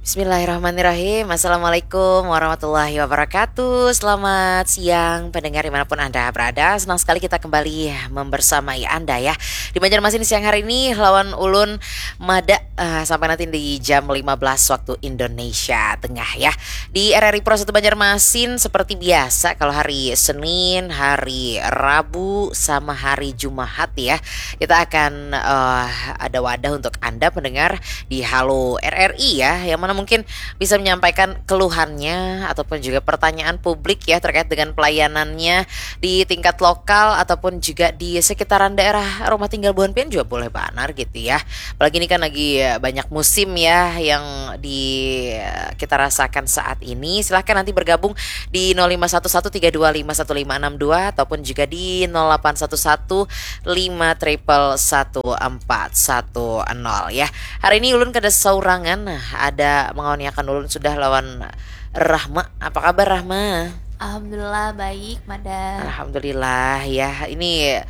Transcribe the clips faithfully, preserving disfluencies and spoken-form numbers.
Bismillahirrahmanirrahim. Assalamualaikum warahmatullahi wabarakatuh. Selamat siang pendengar dimanapun Anda berada. Senang sekali kita kembali membersamai Anda ya. Di Banjarmasin siang hari ini lawan ulun mada uh, sampai nanti di jam lima belas waktu Indonesia Tengah ya. Di R R I Pro satu Banjarmasin seperti biasa kalau hari Senin, hari Rabu sama hari Jumat ya. Kita akan uh, ada wadah untuk Anda pendengar di Halo R R I ya, yang mana mungkin bisa menyampaikan keluhannya ataupun juga pertanyaan publik ya terkait dengan pelayanannya di tingkat lokal ataupun juga di sekitaran daerah rumah tinggal buhan pian juga boleh banar gitu ya. Apalagi ini kan lagi banyak musim ya yang di kita rasakan saat ini. Silahkan nanti bergabung di nol lima satu satu tiga dua lima satu lima enam dua ataupun juga di nol delapan satu satu lima triple satu empat satu nol ya. Hari ini ulun kada saurangan, nah, ada mengawaniakan ulun sudah lawan Rahma. Apa kabar, Rahma? Alhamdulillah baik, Mada. Alhamdulillah ya. Ini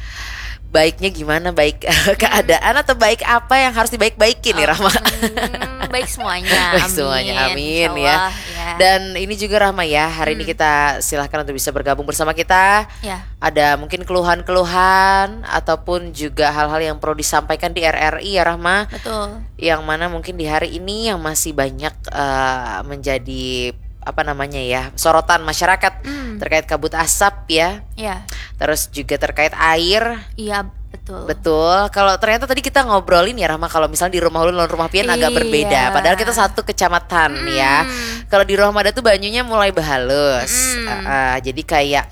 baiknya gimana, baik keadaan atau baik apa yang harus dibaik-baikin nih, Rahma? Hmm, baik semuanya. Baik semuanya, amin, amin, ya. Insya Allah, ya. Dan ini juga, Rahma, ya, hari ini hmm kita silahkan untuk bisa bergabung bersama kita. Ya. Ada mungkin keluhan-keluhan ataupun juga hal-hal yang perlu disampaikan di R R I ya, Rahma. Betul. Yang mana mungkin di hari ini yang masih banyak uh, menjadi apa namanya ya, sorotan masyarakat hmm terkait kabut asap ya. Ya. Terus juga terkait air. Iya, betul. Betul. Kalau ternyata tadi kita ngobrolin ya, Rahma, kalau misalnya di rumah ulun lawan rumah pian agak iya berbeda. Padahal kita satu kecamatan hmm ya. Kalau di rumah ada tuh banyunya mulai berhalus. Hmm. Uh, uh, jadi kayak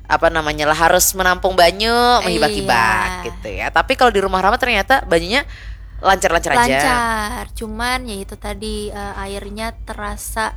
apa namanya lah, harus menampung banyu, menghibak-hibak iya gitu ya. Tapi kalau di rumah Rahma ternyata banyunya lancar-lancar aja. Lancar, cuman ya itu tadi uh, airnya terasa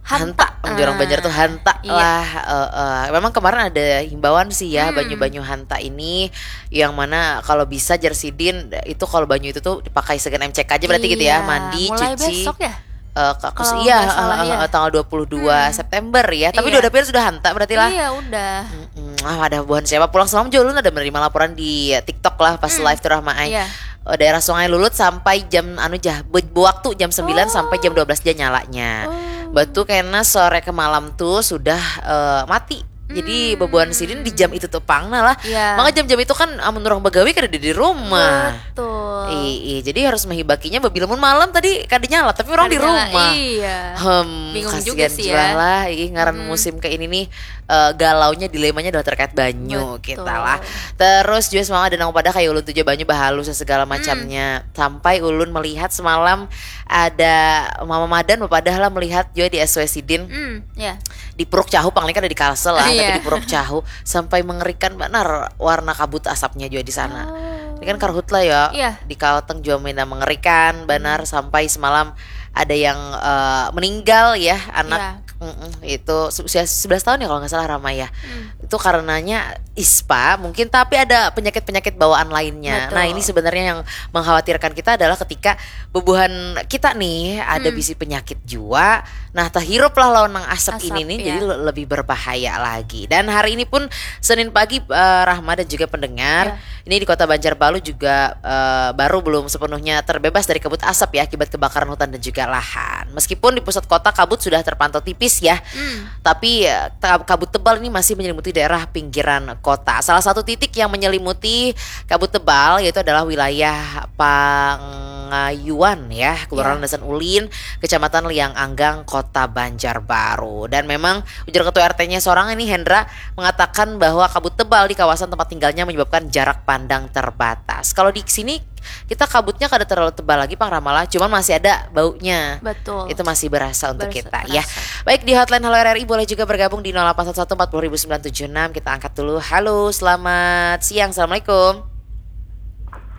hanta. Hanta, mun jar urang Banjar tuh hanta iya lah. Uh, uh. Memang kemarin ada himbauan sih ya, hmm banyu-banyu hanta ini, yang mana kalau bisa jar sidin itu, kalau banyu itu tuh dipakai segan M C K aja berarti iya gitu ya, mandi, mulai cuci besok ya. Uh, kakus kalau iya, uh, uh, ya. Tanggal dua puluh dua hmm September ya. Tapi iya. Dua dapil sudah hanta berarti lah. Iya, udah. Hmm, ah, ada buhan siapa pulang semalam juga ulun ada menerima laporan di TikTok lah pas hmm live tuh, Rahma ai. Iya. Uh, daerah Sungai Lulut sampai jam anu jah, waktu jam sembilan oh sampai jam dua belas aja nyalanya. Oh. Batu kena sore ke malam tuh sudah uh, mati. Jadi hmm bebuan sidin di jam itu tuh pang nah lah. Ya. Maka jam-jam itu kan amun orang begawi kada di rumah. Betul. Iya, jadi harus menghibakinya bila mun malam tadi kada nyala tapi orang di rumah. Iya. Hmm, bingung juga sih ya. Lah, ih, ngaran hmm musim kayak ini nih uh, galaunya, dilemanya adalah terkait banyu. Betul. Kita lah. Terus juga semalam ada nang pada kayak ulun tuh banyu bahalus segala macamnya. Hmm. Sampai ulun melihat semalam ada mama madan, padahal melihat juga di S W sidin. Hmm, ya. Di Puruk Cahu, paling kan ada di Kalsel lah, iya tapi di Puruk Cahu sampai mengerikan benar warna kabut asapnya juga di sana. Oh. Ini kan karhutla ya, iya di Kalteng juga mina mengerikan benar hmm sampai semalam ada yang uh, meninggal ya, anak iya. Mm-mm, itu usia sebelas tahun ya kalau nggak salah, Rahma ya. Hmm. Itu karenanya ispa mungkin, tapi ada penyakit-penyakit bawaan lainnya. Betul. Nah, ini sebenarnya yang mengkhawatirkan kita adalah ketika bubuhan kita nih ada hmm bisi penyakit jua. Nah, terhirup lah lawan nang asap ini nih, iya. Jadi lebih berbahaya lagi. Dan hari ini pun Senin pagi, uh, Rahma dan juga pendengar, ya. Ini di Kota Banjarbaru juga uh, baru belum sepenuhnya terbebas dari kabut asap ya, akibat kebakaran hutan dan juga lahan. Meskipun di pusat kota kabut sudah terpantau tipis ya, hmm tapi uh, kabut tebal ini masih menyelimuti daerah pinggiran kota. Salah satu titik yang menyelimuti kabut tebal yaitu adalah wilayah Pangayuan ya, Kelurahan ya. Dasan Ulin, Kecamatan Liang Anggang, Kota Banjarbaru. Dan memang ujar Ketua R T-nya seorang ini, Hendra, mengatakan bahwa kabut tebal di kawasan tempat tinggalnya menyebabkan jarak pandang terbatas. Kalau di sini kita kabutnya kada terlalu tebal lagi, Pang Rahma lah, cuman masih ada baunya. Betul. Itu masih berasa untuk berasa, kita, ya. Baik, di hotline Halo R R I boleh juga bergabung di nol delapan satu satu empat puluh ribu sembilan tujuh enam. Kita angkat dulu. Halo, selamat siang. Assalamualaikum.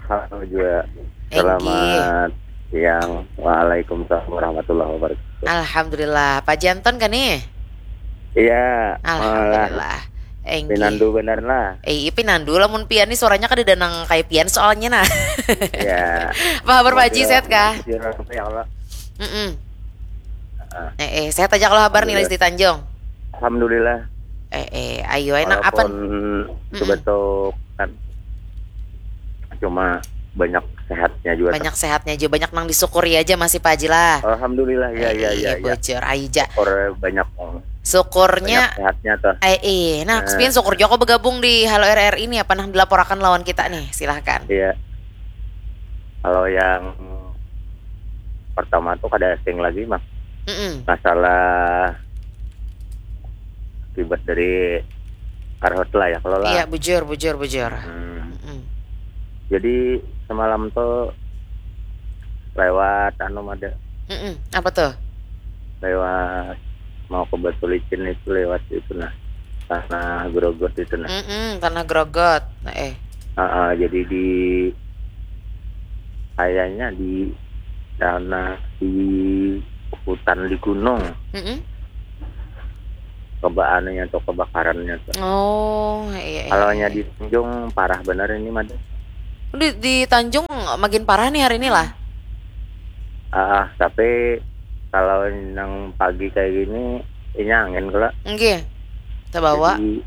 Halo juga. Selamat siang. Waalaikumsalam warahmatullahi wabarakatuh. Alhamdulillah. Pak Janton kan nih? Iya. Alhamdulillah. Enggi. Pinandu benar lah. Eh, iya pinandu lah mun pian nih, suaranya kada danang kayak pian soalnya nah. Iya. Apa kabar Pak Haji, sehat kah? Ya Allah. Mm-mm. Eh, eh, sehat aja kalau kabar nih, Lesti Tanjung. Alhamdulillah. Eh, eh, ayo enak apa? Walaupun sebetul kan cuma banyak sehatnya juga. Banyak sehatnya juga, banyak nang disyukuri aja masih Pak Haji lah. Alhamdulillah ya ya ya. Bujur aja. Syukur banyak. Syukurnya sehatnya tuh. Eh, eh, nah, Spian syukur juga kau bergabung di Halo R R ini, apa nang dilaporakan lawan kita nih, silahkan. Iya. Kalau yang pertama tuh kada asing lagi mah. Mm-mm. Masalah akibat dari karhutlah ya kalau lah. Iya, bujur, bujur, bujur. Hmm. Mm-mm. Jadi semalam tuh lewat anu ada Mm-mm. Apa tuh? Lewat mau ke Batu Licin itu lewat itu nah, tanah Grogot itu nah. Mm-mm, tanah Grogot. Nah, eh. Uh, jadi di kayaknya di tanah di hutan di gunung. Mm-mm. Kebaannya tuh kebakarannya tuh. Oh iya. Kalau di Tanjung parah bener ini mah. Di, di Tanjung makin parah nih hari ini lah. Ah, tapi kalau nang pagi kayak gini, ini angin kalau. Nggih. Terbawa. Jadi,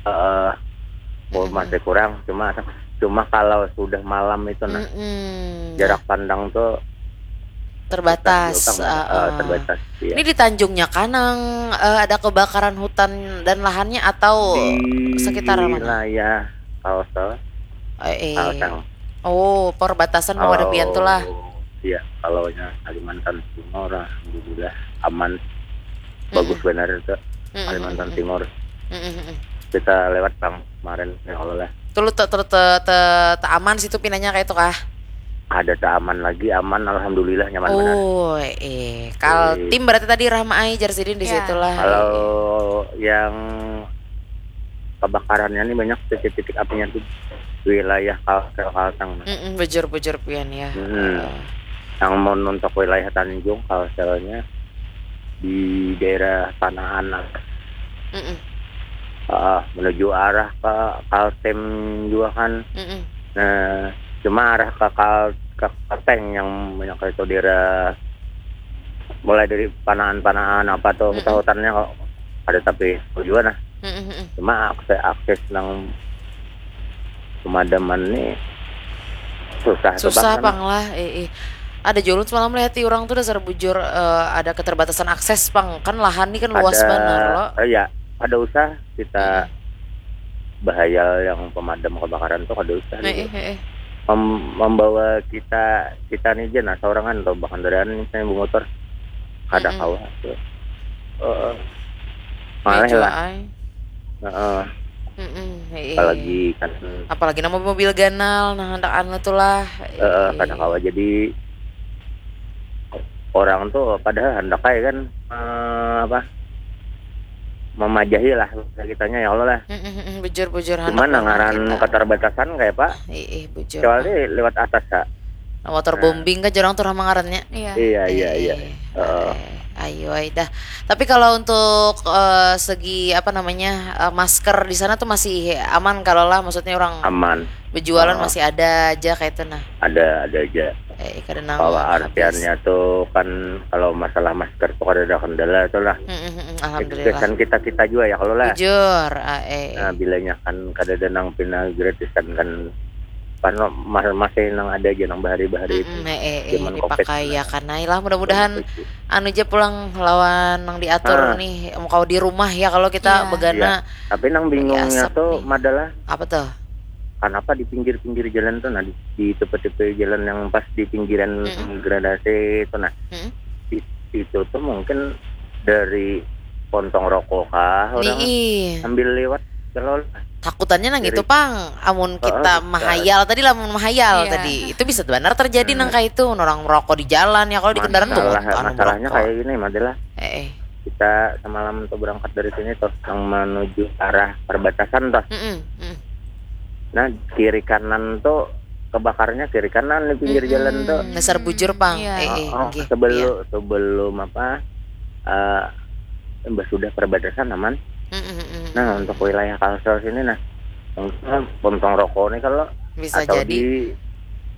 uh, Mm-mm. masih kurang, cuma cuma kalau sudah malam itu nah, Mm-mm. jarak pandang tuh Terbatas. susah juga, Ah, uh, ah. terbatas. Iya. Ini di Tanjungnya kan nang eh, ada kebakaran hutan dan lahannya atau Di sekitaran mana? Wilayah Kalsel, Eh, eh. Kalsel. Oh, perbatasan mau ada pian tuh lah. Iya, kalau nya Kalimantan Timur, alhamdulillah aman. Bagus benar itu Mm-mm. Kalimantan Timur. Mm-mm. Kita lewat bang kemarin ya Allah lah. Tuh lu te, te, te, te, te aman situ pinanya kayak itu kah? Ada tak aman lagi, aman alhamdulillah nyaman benar. Oh, eh, Kaltim berarti tadi Rahma ai jar sidin di Ya. situ lah. Kalau yang kebakarannya nih banyak titik-titik apinya tuh wilayah Kalsel Kalteng. Mm-mm, bujur-bujur pian ya. Mm-mm. Eh, Yang mau untuk wilayah Tanjung Kalselnya di daerah Panahan lah. mm-mm, Ah, menuju arah ke Kaltim juga kan. mm-mm. Nah, cuma arah ke Kal ke Kalteng yang banyak itu daerah mulai dari Panahan-Panahan apa tuh Mm-mm. hutan-hutannya kok ada tapi juga nah. Mm-mm, mm-mm. Cuma akses akses nang pemadaman nih susah tuh, Susah Bang. Pang lah, eh, eh. Ada julun semalam lihat orang tuh dasar bujur eh, ada keterbatasan akses Pang, kan lahan nih kan luas Ada- banar lo. Oh iya, ada usah kita bahayal yang pemadam kebakaran tuh kada usah Eh, gitu. eh, eh. Mem- membawa kita kita nih aja nah seorangan atau bahkan kendaraan misalnya bermotor kada Mm-mm. kawa tuh. Heeh. Malah Iya, lah. Ai. Heeh. Mm-mm, eh, eh. Apalagi kan Apalagi nama mobil ganal, nah hendak anu tuh lah. eh, kada kawa jadi orang tuh padahal hendak aja kan eh, apa memajahi lah kitanya ya Allah lah. Mm-mm, mm-mm, bujur-bujur Cuman hendak ngaran kita. Keterbatasan kayak pak Ih, ih, bujur. Kecuali lewat atas kak. Nah, waterbombing kan jorang tuh nama ngarannya. Iya. Iya iya iya. Eh, Heeh. eh, ayo ai dah. Tapi kalau untuk eh, segi apa namanya eh, masker di sana tuh masih aman kalau lah, maksudnya orang Aman. berjualan Oh. masih ada aja kayak itu nah. Ada ada aja. Eh, kada nang Bahwa habis. artiannya tuh kan kalau masalah masker tuh kada ada kendala tuh lah. Mm-mm, mm-mm, alhamdulillah. Kesan kita kita juga ya kalau lah. Bujur, ah, eh, eh. Nah, bilanya kan kada ada nang pina gratisan kan pan ma- masih nang ada aja nang bahari-bahari itu. Mm-mm, eh, eh, eh, Zaman COVID dipakai lah. Ya kan. Nah, lah mudah-mudahan Zaman COVID. Anu aja pulang lawan nang diatur Ah. nih, mau kau di rumah ya kalau kita Iya. begana. Tapi nang bingungnya asap tuh nih. Madalah Apa tuh? Kenapa di pinggir-pinggir jalan tuh nah di, di tepi-tepi jalan yang pas di pinggiran Mm-mm. gradasi itu nah Mm-mm. di, itu tuh mungkin dari pontong rokok kah orang Nih, sambil lewat kalau takutannya nang Jadi- itu pang, amun Heeh, kita bisa. mahayal tadi, lamun mahayal Iya. tadi itu bisa benar terjadi Hmm. Nang kayak itu, orang merokok di jalan ya, kalau di kendaraan tuh masalah anu masalahnya merokok. Kayak gini Madalah, Eh, eh. Kita semalam tuh berangkat dari sini tuh yang menuju arah perbatasan tuh. Mm-mm, mm. Nah, kiri kanan tuh kebakarnya kiri kanan di pinggir Mm-mm. Jalan tuh. Dasar bujur pang. Iya. Eh, eh, Oh, nggih. sebelum sebelum apa eh sudah perbatasan aman. Mm-mm, mm-mm. Nah, untuk wilayah Kalsel sini nah, mungkin pontong rokok nih kalau Bisa atau jadi. Di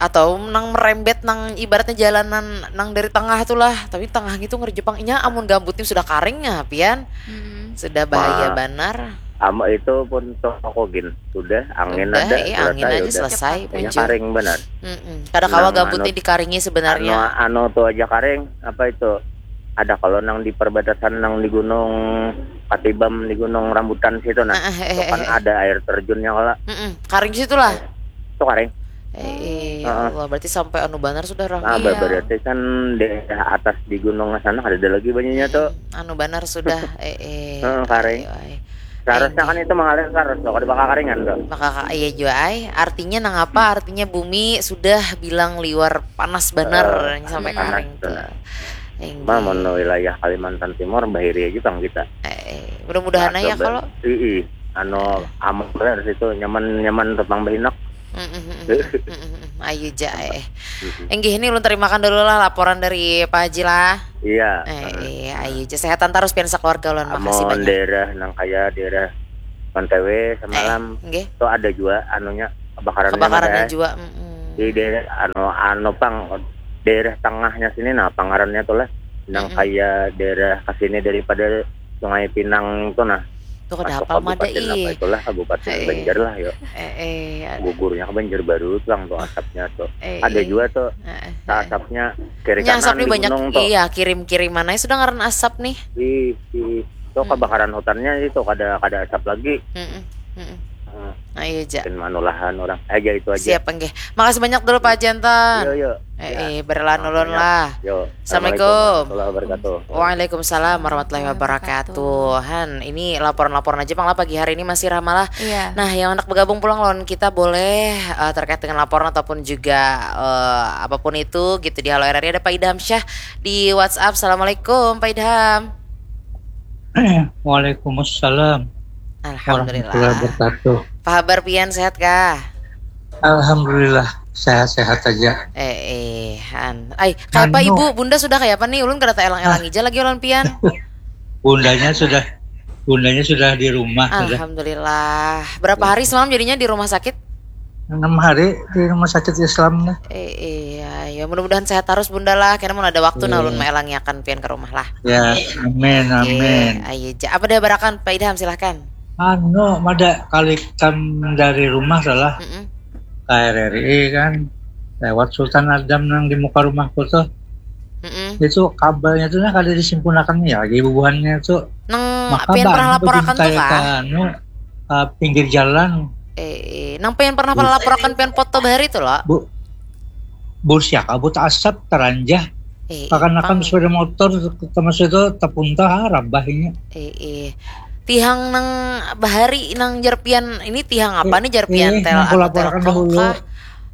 Atau nang merembet nang ibaratnya jalanan nang dari tengah tuh lah, tapi tengah gitu ngerjepang inya amun gambutnya sudah karing ya pian, Mm-mm. sudah bahaya Ma- banar. Ama itu pun toko gin sudah, angin Udah, ada, iya, selesai, angin aja udah. selesai, Hanya bujur. Karing benar. Mm-mm. Kada kawa Nang gambut anu- ni dikaringi Anu sebenarnya. anu tu aja karing, apa itu? Ada kalau nang di perbatasan nang di gunung Katibam, di gunung Rambutan situ nah. Heeh, Itu kan heeh, heeh. Ada air terjunnya kala. Mm-mm. Karing situ lah. Itu karing. Eh, eh, ya Heeh. Allah, berarti sampai anu banar sudah, Rah. Nah, Iya. berarti kan daerah atas di gunung sana ada lagi banyaknya tuh. Mm-mm. Anu banar sudah. Eh, eh. Heeh, karing. Ayo, ay. Seharusnya Ayo, kan itu mengalir terus loh, kada bakal karingan tuh. Maka ka- iya jua ay. Artinya nang apa? Artinya bumi sudah bilang liwar panas banar Eh, yang sampai panas karing tuh. benar. Yang Mah mun wilayah Kalimantan Timur bahiri aja bang kita. Eh, eh. Mudah-mudahan aja Coba. Kalau Ii, anu aman benar situ, nyaman nyaman tentang bahinak. Mm, mm, mm, mm, mm, mm, mm. Ayo ja eh. Mm-mm. Enggih, ini ulun terimakan dulu lah laporan dari Pak Haji lah. Iya. Eh, iya, ayo ja, sehatan terus pian sekeluarga ulun, makasih Amun banyak. Daerah nang kaya daerah Pantewe semalam Eh, enggih. Tuh ada juga anunya kebakarannya Kebakarannya ada. Juga. Mm-mm. Di daerah anu anu pang daerah tengahnya sini nah pangarannya tuh lah nang Mm-mm. Kaya daerah ke sini daripada Sungai Pinang itu nah. Tuh kada Masuk hafal mada kabupaten apa ih. itulah, Kabupaten Eh, Banjar lah yo. Eh, eh, ada. Gugurnya ke Banjarbaru tuh tuh asapnya tuh. Eh, Ada eh. juga tuh Eh, eh, eh. Asapnya kiri Nya kanan asap ni di banyak, gunung tuh. Iya, kirim-kiriman aja sudah ngaran asap nih. Ih, ih. Tuh Hmm. kebakaran hutannya itu kada kada asap lagi. Mm-mm, mm-mm. Hmm. Nah, iya ja. Dan manulahan orang aja itu aja. Siap enggih. Makasih banyak dulu Pak Jantan. Yo yo. Eh, Ya. eh, berlahan Nah, ulun banyak. Lah. Yo. Assalamualaikum. Warahmatullahi wabarakatuh. Waalaikumsalam warahmatullahi wabarakatuh. Han, ini laporan-laporan aja pang lah pagi hari ini masih ramah lah. Iya. Nah, yang hendak bergabung pulang lawan kita boleh eh, terkait dengan laporan ataupun juga eh, apapun itu gitu di Halo R R I. Ada Pak Idham Syah di WhatsApp. Assalamualaikum Pak Idham. Waalaikumsalam warahmatullahi Alhamdulillah. Wabarakatuh. Apa kabar pian, sehat kah? Alhamdulillah sehat-sehat aja. Eh, eh, han. Ay, kayak apa Anu. Ibu, Bunda sudah kayak apa nih? Ulun kada taelang-elang ija lagi ulun pian. Bundanya sudah bundanya sudah di rumah sudah. Alhamdulillah. Berapa hari semalam jadinya di rumah sakit? Enam hari di rumah sakit Islam nih. Eh, iya, ya mudah-mudahan sehat terus Bunda lah. Karena mun ada waktu nah Iya. Ulun maelangiakan pian ke rumah lah. Ya, amin, Oke, amin. Ayo ja. Apa ada barakan Pak Idham, silahkan. Anu, mada kalikan dari rumah salah Mm-mm. K R R I kan lewat Sultan Adam nang di muka rumahku tuh. Mm-mm. Itu kabelnya tuh nah kada disimpunakan ya lagi bubuhannya tuh. Nang Maka pian bang, pernah itu laporakan tuh ditarik kah? Anu, uh, pinggir jalan. Eh, eh. Nang pian pernah laporakan pian foto bahari tuh lo. Bu, bus ya kabut asap teranjah. Eh, Kakanakan pang. Sepeda motor termasuk itu tepunta rabahnya. Eh, eh. Tihang nang bahari nang jar pian ini tihang apa nih jar pian Eh, tel nang anu laporakan telkom dahulu. Kah?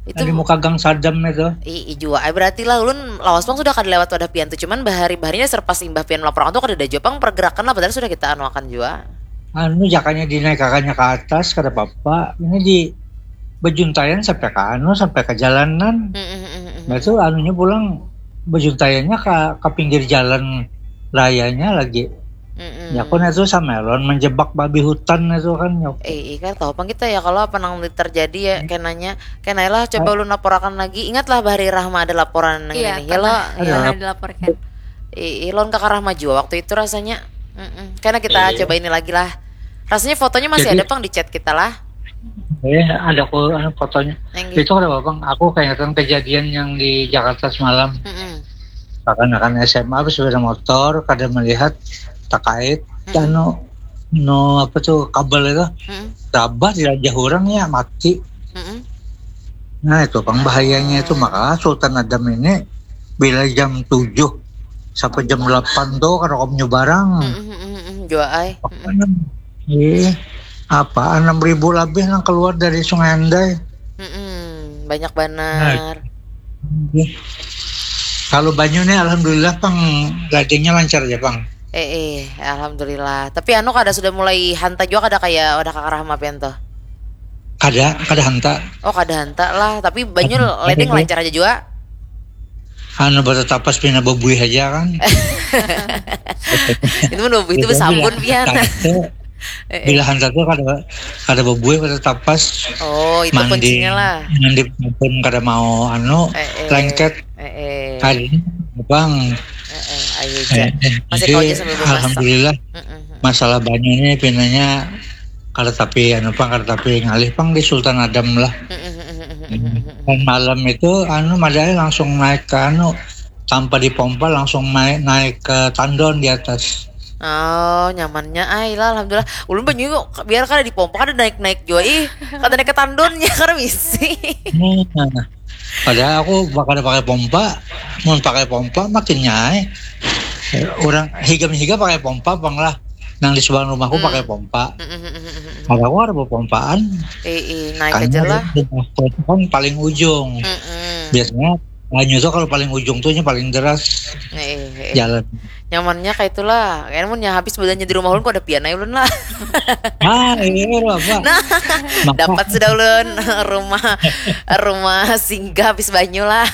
Itu di muka Gang Sadam itu. Ih, ih, jua. Ay, berarti lah ulun lawas pang sudah kada lewat wadah pian tuh. Cuman bahari-baharinya serpas imbah pian melaporakan tuh kada ada jua pang pergerakan lah padahal sudah kita anuakan jua. Anu jakanya dinaikakannya ke atas kada apa-apa. Ini di bejuntaian sampai ke anu sampai ke jalanan. Mm, mm, mm, mm, Nah mm. Itu anunya pulang bejuntaiannya ke ke pinggir jalan rayanya lagi. Mm-mm. Ya aku itu sama lawan menjebak babi hutan itu kan. Ya. Eh, iya kan tahu pang kita ya kalau apa nang terjadi ya kenanya. Kenailah coba ulun laporakan lagi. Ingatlah bahari Rahma ada laporan nang Iya, ini. Ya lo. pernah. Ya. Pernah dilaporkan. Eh, eh, lawan kakak Rahma jua waktu itu rasanya. Mm-mm. Karena kita Iya. Coba ini lagi lah. Rasanya fotonya masih Jadi- ada pang di chat kita lah. Eh, ada aku anu, fotonya. Nenggi. Itu ada apa bang? Aku keingetan kejadian yang di Jakarta semalam. Mm-mm. Kakanakan S M A bersepeda motor kada melihat terkait Mm-mm. anu no apa tuh kabel itu Mm-mm. Rabah dilanjah orang ya mati. Mm-mm. Nah itu pang bahayanya itu maka Sultan Adam ini bila jam tujuh sampai jam delapan tuh kada kom nyebarang. Mm-mm, mm-mm, mm-mm. Jua ay. Mm-mm. Ih, apa enam ribu lebih nang keluar dari Sungai Andai. Mm-mm. Banyak banar. Ih. Kalau banyu nih alhamdulillah pang ladengnya lancar aja pang. Eh, eh, alhamdulillah. Tapi anu kada sudah mulai hanta juga kada kayak wadah kakak Rahma pian tuh. Kada, kada hanta. Oh kada hanta lah. Tapi banyu Kada, ledeng kada. Lancar aja juga. Anu batu tapas pina bebuih aja kan. Itu mah bebuih itu Itu besampun bila pian. hanta tuh, Eh, eh. Bila hanta tuh kada kada bebuih batu tapas. Oh itu Mandi, kuncinya lah. Mandi pun kada mau anu Eh, eh. Lengket. Eh, eh. Kada bang. Eh, eh. Ayo aja. Eh, eh. Masih Jadi, kau aja sambil memasak. Alhamdulillah Mm-mm. Masalah banyu ini pinanya kada tapi anu pang, kada tapi ngalih pang di Sultan Adam lah. Dan malam itu anu madai langsung naik ke anu, tanpa dipompa, langsung naik, naik ke tandon di atas. Oh, nyamannya ai lah, alhamdulillah. Ulun banyu biar kada dipompa, kada naik-naik jua ih. Kada naik ke tandonnya karena misi. Nah, padahal aku kada pakai pompa, mun pakai pompa makin nyai. Orang higam higa pakai pompa pang lah. Nang di sebelah rumahku hmm. pakai pompa. Kalau aku ada pompaan. Eh, eh, naik aja lah. Kan paling ujung. Mm-mm. Biasanya banyu tuh kalau paling ujung tuh paling deras. Eh, eh, jalan. Nyamannya kayak itulah. Kan mun habis badannya di rumah ulun kok ada pian aja ulun lah. Ah, iya apa? Nah, dapat sudah ulun rumah rumah singgah habis banyu lah.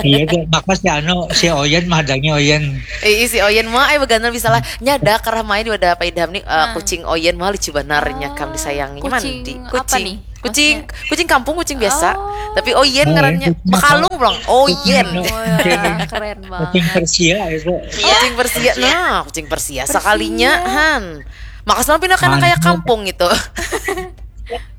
Iya tuh, maka si anu si Oyen mahadangi Oyen. Ih, si Oyen mah ai beganal bisa lah. Nyada karah main di wadah Pak Idham nih uh, kucing Oyen mah lucu banarnya kam disayangi. Kucing mandi. Kucing. Kucing, kucing kampung, kucing biasa. Oh. Tapi Oyen oh, ngarannya bekalung pulang. Oyen. Oh, ya, keren banget. Kucing Persia itu. Kucing Persia. Nah, kucing Persia sekalinya han. Maka selalu pindah kayak kampung gitu.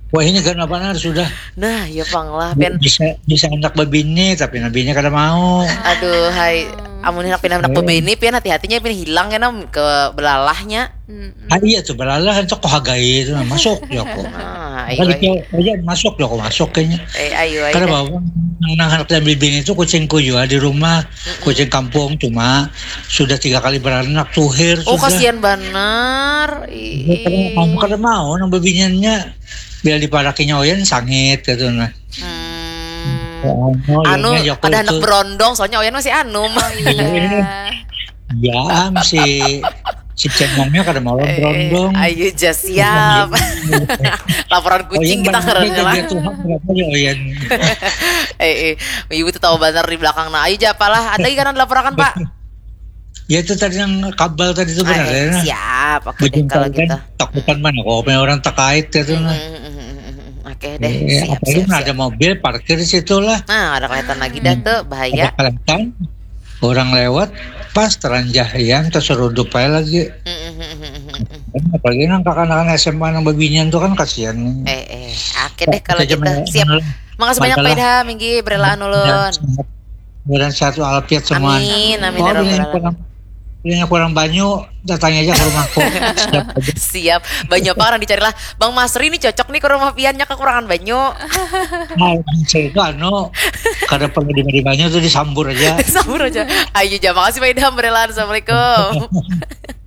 Wah ini kan apa sudah. Nah, ya pang lah pen. Bisa bisa anak bebini tapi nabinya kada mau. Aduh, hai. Amun hendak pindah anak bebini pian hati-hatinya pian hilang kan ke belalahnya. Hmm. Ah iya tuh belalah itu kok hagai itu nah, masuk ya kok. Ah, iya, iya. Aja masuk ya kok masuk kayaknya. Eh, ayo ayo. Karena bawa nang anak dan bibin itu kucingku juga di rumah, hmm. Kucing kampung cuma sudah tiga kali beranak tuhir. Oh sudah. Kasihan benar. Kamu kada mau nang bebinyannya bila diparakinya oyan sangit gitu nah. Hmm. Oh, anu ada anak berondong soalnya oyan masih anum. Oh, iya. Ya, si si cemongnya kada mau berondong. Ayo ja siap. Laporan kucing kita karena lah. Tuhan berapa ya Oyan. Eh, eh, ibu tuh tahu benar di belakang nah. Ayo ja apalah. Ada lagi kan laporakan Pak. Ya itu tadi yang kabel tadi itu benar ya. Siap, oke deh kalau gitu. Takutan mana kok punya orang terkait gitu nah. Oke deh. Iya, siap, siap, siap. Ada mobil parkir di situ lah. Nah, ada kelihatan lagi dah tuh bahaya. Ada kelihatan orang lewat pas teranjah yang terserudup aja lagi. Apalagi nang kakanakan S M A nang babinian tuh kan kasihan. Eh eh, oke deh kalau gitu. Siap. Makasih banyak Pak Idham, minggi berelaan ulun. Mudah sehat walafiat semua. Amin, amin. Oh, ya kurang, kurang banyu, datang aja ke rumahku. Siap. Siap. Banyu apa orang dicari lah. Bang Masri ini cocok nih ke rumah piannya kekurangan banyu. Nah, saya itu anu kada perlu diberi banyu tuh disambur aja. Disambur aja. Ayo ja makasih Pak Idham berelaan. Assalamualaikum.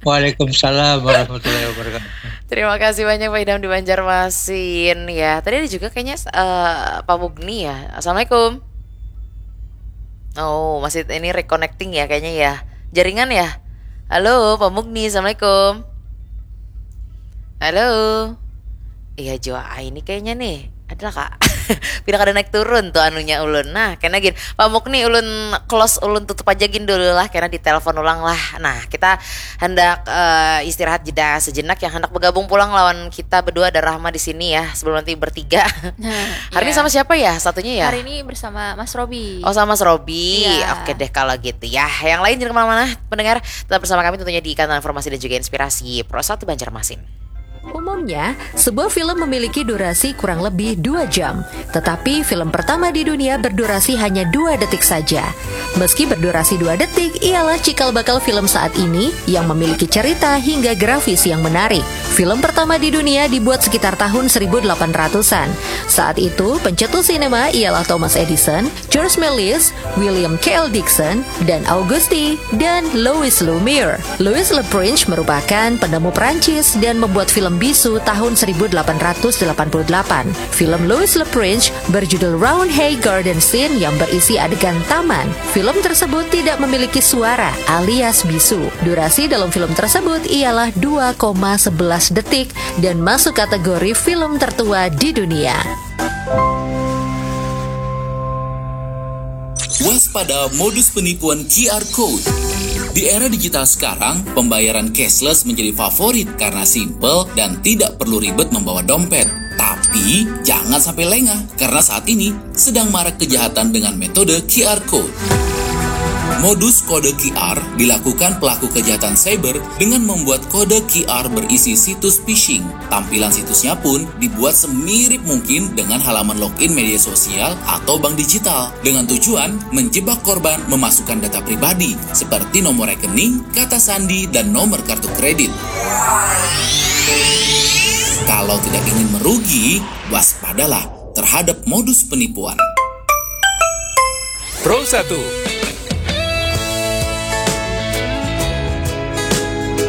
Waalaikumsalam warahmatullahi wabarakatuh. Terima kasih banyak Pak Idham di Banjarmasin ya. Tadi ada juga kayaknya uh, Pak Mugni ya. Assalamualaikum. Oh, masih ini reconnecting ya kayaknya ya. Jaringan ya? Halo, Pak Mugni. Assalamualaikum. Halo. Iya, Joa ini kayaknya nih. Adalah kak. Pindah kada naik turun tuh anunya ulun. Nah, kena gin. Pak Mugni ulun close ulun tutup aja gin dulu lah karena ditelepon ulang lah. Nah, kita hendak uh, istirahat jeda sejenak yang hendak bergabung pulang lawan kita berdua ada Rahma di sini ya sebelum nanti bertiga. Nah, hari ya. Ini sama siapa ya satunya ya? Hari ini bersama Mas Robi. Oh sama Mas Robi. Iya. Oke deh kalau gitu ya. Yang lain jangan kemana-mana pendengar tetap bersama kami tentunya di kanal informasi dan juga inspirasi Pro satu Banjarmasin. Umumnya, sebuah film memiliki durasi kurang lebih dua jam. Tetapi film pertama di dunia berdurasi hanya dua detik saja. Meski berdurasi dua detik, ialah cikal bakal film saat ini yang memiliki cerita hingga grafis yang menarik. Film pertama di dunia dibuat sekitar tahun seribu delapan ratusan. Saat itu, pencetus sinema ialah Thomas Edison, George Méliès, William K L Dixon, Dan Augusti, dan Louis Lumière. Louis Le Prince merupakan penemu Perancis dan membuat film bisu tahun seribu delapan ratus delapan puluh delapan. Film Louis Le Prince berjudul Roundhay Garden Scene yang berisi adegan taman. Film tersebut tidak memiliki suara alias bisu. Durasi dalam film tersebut ialah dua koma sebelas detik dan masuk kategori film tertua di dunia. Waspada modus penipuan Q R Code. Di era digital sekarang, pembayaran cashless menjadi favorit karena simple dan tidak perlu ribet membawa dompet. Tapi, jangan sampai lengah karena saat ini sedang marak kejahatan dengan metode Q R Code. Modus kode Q R dilakukan pelaku kejahatan cyber dengan membuat kode Q R berisi situs phishing. Tampilan situsnya pun dibuat semirip mungkin dengan halaman login media sosial atau bank digital, dengan tujuan menjebak korban memasukkan data pribadi seperti nomor rekening, kata sandi, dan nomor kartu kredit. Kalau tidak ingin merugi, waspadalah terhadap modus penipuan. Pro satu,